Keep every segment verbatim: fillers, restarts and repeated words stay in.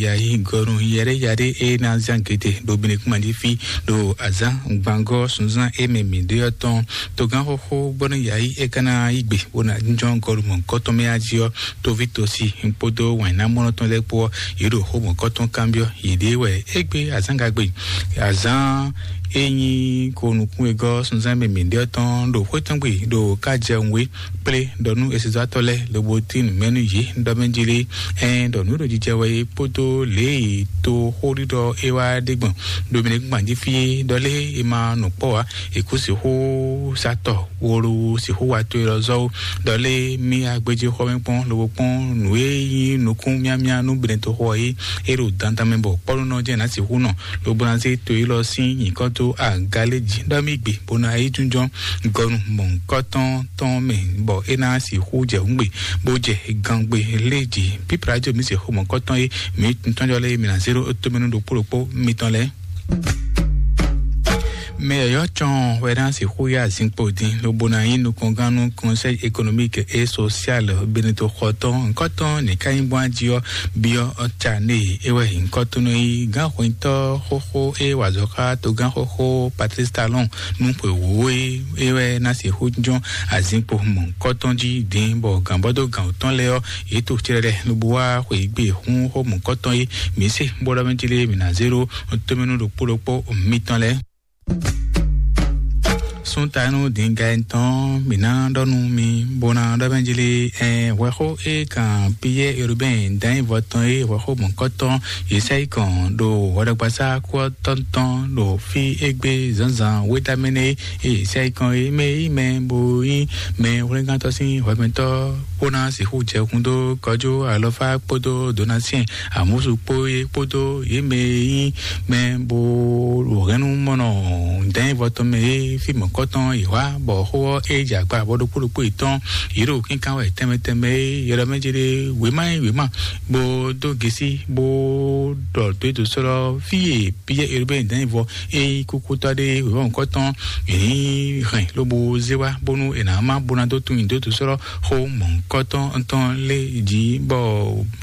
Yayi gɔnu yɛrɛ yari e na zan gete ɖo binekuma jí fi ɖo azan gbangɔ sunzan e mɛ mi ɖe ɔ́ tɔn. Togán xoxo bɔnu yayi e kana yi gbe bona jɔn gɔlu mɔ kɔtɔn mɛ aji ɔ́, tovi tosi kpódó wɛn na mɔnɔ tɔn lɛ kpó ɔ́, yi ɖo xo mɔ kɔtɔn kanbiɔ yi ɖe wɛ egbe azan gagbe azan e nyi ko nukun e gɔ sunzan mɛ mi ɖe ɔ́ tɔn ɖo xwé tɔn gbe ɖo ka jɛ nwe kplé ɖɔ nú esezɔ́tɔ́ lɛ́ɛ lobo tín nǔ mɛ nú yě ɖɔ mɛ jí lé. Ɛn ɖɔ nǔ ɖo jijɛ wɛ é kpódó lě e toxóɖiɖɔ é wá ɖe gbɔn ɖo mɛ gbɔn jí fí é ɖɔ lé é ma nɔ kpɔ́ ǎ. È kú sixú satɔ wolo sixú wa to élɔ́ zɔ́ ó ɖɔ lé mí agbéjé xɔ mɛ kpɔ́n lobo kpɔ́n nǔ e nyí nukún miamia nú benetoxo ɔ́ é é ɖo dandan mɛ bɔ kpɔ́núnɔ jẹ́ ná sixú nɔ lobo ná zé to élɔ́ sín nyǐkɔ dó aga lé jí ɖɔ mí gbe bó ná yi jínjɔ́n gɔnu mɔ̌hunkɔtɔn tɔn mɛ bɔ é ná sixú jɛ hǔngbe bó jɛ gangbe lé jí. Pípla jɔ mí se xomɔ̌kɔtɔn é mí tɔnjɔ lé mí ná zé ɖó tómɛnú ɖokpó ɖokpó mitɔn lɛ́ɛ. Mɛ yɔ̌yɔ́ cɔn wɛ ná sixú yá zinkpo dín lobo ná nyí nukɔngán nú Conseil économique et social Benito xɔtɔn nkɔtɔn nìkannyigban jí ɔ́ byɔ́ ɔ́ ca née é wɛ nyǐkɔ tó nɔ nyí gánxwetɔ́ xóxó é wa azɔ̌ xá togán xóxó Patrice Talon nú xwe wǒ é é wɛ ná sixú jɔ́n azinkpo mɔ̌hunkɔtɔn jí dín bɔ gǎnbɔ́dó gǎn tɔn lɛ́ɛ ɔ́ yě to clɛ́ɖɛ lobo wá xweyǐgbe hún xó mɔ̌hunkɔtɔn é mǐ se bó ɖɔ mɛ jí lé mǐ ná zé ɖó tómɛnú ɖokpó ɖokpó mitɔn lɛ́ɛ. Súntanú dǐnga tɔn mǐ ná ɖɔ nú mi bó ná ɖɔ mɛ jí lé ɛn hwɛxó é kan Piyɛ́ɛ Erubɛ́n dǎnyívɔ tɔn é hwɛxó mɔ̌kɔtɔn Yesayikɔn ɖo hwɛɖɔgbasá kú ɔ́ tɔn tɔn ɖo fí égbé zǎnzǎn wétamɛnɛ é Yesayikɔn é mɛ é mɛ bó nyí mɛ hwlɛ́ngántɔ́ sín hwɛmɛtɔ́ bó ná sixú jɛ kún dó kɔjú alɔfá kpódó donasiɛn amúsu kpó é kpódó yě mɛ e nyí mɛ bó ɖo hɛ̌nnu mɔnɔ dɛ̌nvɔ tɔn mɛ é fí mɔ̌kɔtɔn yi hwá bɔ xó ɔ́ é jɛ agba bɔ ɖokpó ɖokpó yětɔn yě ɖo kínkan wɛ tɛnmɛ tɛnmɛ é yɔɖɔ mɛ jɛ ɖe wěma e wěma bó dó gesi bó ɖɔ dó ètò sɔ́lɔ fí e Piyɛ́ɛ Erubɛ́n dɛ̌nvɔ é nyí kúkútɔ́ ɖé wěma mɔ̌kɔtɔn yě ní hɛn lobo zé wá bónú è nǎ má bó ná dó tunwun dó ètò sɔ́lɔ xó mɔ̌kɔtɔn tɔn lé jí bɔ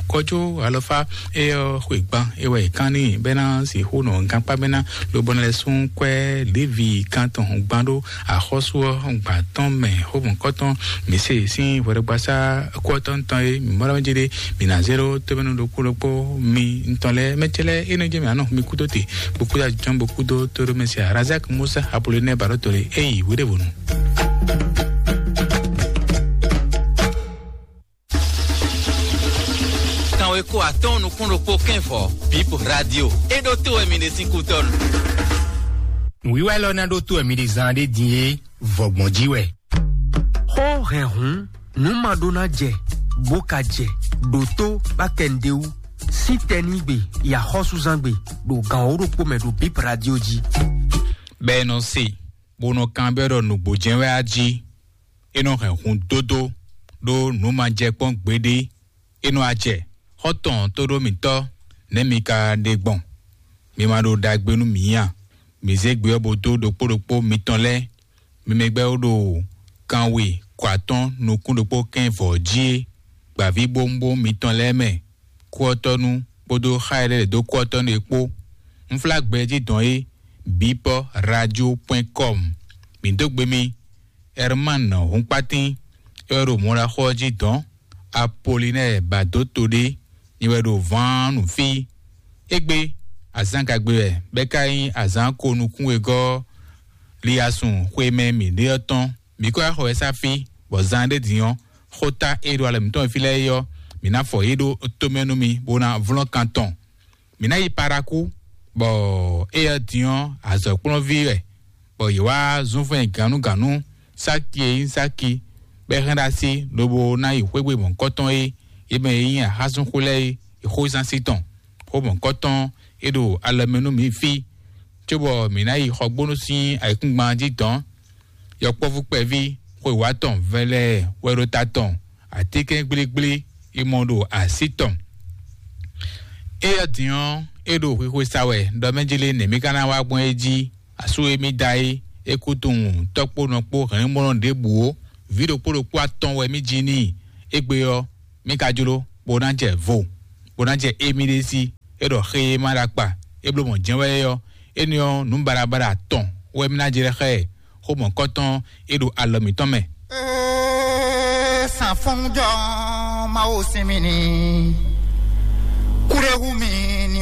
kɔjó alɔfá é ɔ́ xwe gban é wɛ è kán n'i bɛ́ ná sixú nɔ gankpá bɛ́ ná lobɔ ná lɛ́ sún kwɛ́ Levi kan tɔn gban ɖó axɔ́sú ɔ́ gban tɔn mɛ xó mɔ̌kɔtɔn mǐ se sín hwɛɖɔgbasá kú ɔ́ tɔn tɔn é mǐ mɔ ɖɔ jí ɖé mǐ ná zé ɖó tómɛnú ɖokpó ɖokpó mi ntɔn lɛ́ɛ mɛ cɛ lɛ́ɛ é nɔ jɛ mǐ anɔ mi kúdó te bó kúdó ajɔn bó kúdó tóɖó mɛ se Razak Musa Apollinaire Barotole é yi wéɖévonu. Kanwe ko atɔn nukún ɖokpó kɛnvɔ Bip Radio. É ɖó tó wɛ mi ɖe sín kútɔnu. Nǔwiwa élɔ́ ná ɖó tó wɛ mi ɖe zan ɖé din é vɔgbɔn jí wɛ. Xó hɛn hǔn, nǔ ma ɖó ná jɛ, bó ka jɛ, ɖo tó bá kɛ nɖé wú. Sín tɛnígbe, yi axɔ́súzángbe, ɖo gǎn wǒ ɖokpó mɛ ɖo Bip Radio jí. Bɛ ɛ nɔ se, bó nɔ kanbyɔ́ ɖɔ nǔgbó jɛ́n wɛ á jí. É nɔ hɛn hun dódó ɖó nǔ ma jɛ kpɔ́n gbeɖé. É nɔ acɛ xɔ́ntɔn tóɖó mǐtɔn nɛ̌ mi ka ɖe gbɔn? Mi ma ɖo ɖagbe nú mǐ a? Mǐ zé gbe ɔ́ bó dó ɖokpó ɖokpó mitɔn lɛ́ɛ. Mi mɛ gbɛ́ ó ɖo kanwe kɔ atɔ́n nukún ɖokpó kɛ́n vɔ̌ jí é, gbǎvíbówúnbówún mitɔn lɛ́ɛ mɛ, kúɔ́tɔ́nú kpódó xá e lɛ́ lɛ̌ dó kúɔ́tɔ́nú é kpó. Unflágbɛjí dɔn é, bipɔ radio point com. Mǐ dó gbe mi. Herman Húnkpátín, é wɛ ɖo mɔɖaxó ɔ́ jí dɔ̌n. Apolinɛ́ɛ Badótoɖé, nyɛ wɛ ɖo vǎn nǔ fí. Égbé, azǎn gagbe wɛ, bɔ é ka nyí azǎn ko nukún wegɔ́ liasun xwe mɛ mǐ ɖe ɔ́ tɔn. Mǐ ko wá xɔ wɛ sá fí, bɔ zan ɖé din ɔ́, xóta e ɖo alɔ mǐtɔn e fí lɛ́ɛ é ɔ́, mǐ ná fɔ yě ɖó tomɛ nú mi, bó ná vlɔ́n kan tɔn. Mǐ ná yi Parakú, bɔ éyɛ́ din ɔ́, azɔ̌kplɔ́nví wɛ, bɔ yě wá zún fɛn gǎnnugǎnnu Sáki e nyí Sáki, bɔ é hɛn ɖó así, lobo ná yi xwé gbe mɔ̌hunkɔtɔn é, é mɛ e nyí axásúnxó lɛ́ɛ é, é xó zán sí tɔn, xó mɔ̌hunkɔtɔn é ɖo alɔ mɛ nú mǐ fí, cóbɔ mǐ ná yi xɔgbónú sín ayǐkúngban jí dɔ̌n. Yɔkpɔ́vú kpɛví xwe wǎ tɔn vɛlɛ wɛ ɖo ta tɔn, atínkɛn gblígblí yi mɔ ɖo así tɔn. Éyɛ́ din ɔ́, é ɖo xwixwe sa wɛ ɖɔ mɛ jí lé nɛ̌ mí ka ná wá gbɔn é jí. Asú e mí da é, é kú tunwun tɔ́ kpó nɔ kpó hɛ̌nnumɔnɔ ɖěbǔ ó. Vǐ ɖokpó ɖokpó atɔn wɛ mí ji n'i. Égbé ɔ́, mí ka jló bó ná jɛ vo, bó ná jɛ émí ɖé sí. É ɖɔ xé e ma ɖo akpa, é bló mɔ̌ jɛ́n wɛ é ɔ́, énɛ́ ɔ́, nǔ baɖabaɖa atɔn wɛ mì ná jlɛ́ xá ɛ, xó mɔ̌kɔ́tɔn e ɖo alɔ mǐtɔn mɛ. Ee, sanfɔnjɔ Mawu sinmi ni. Kúɖéhú mi ni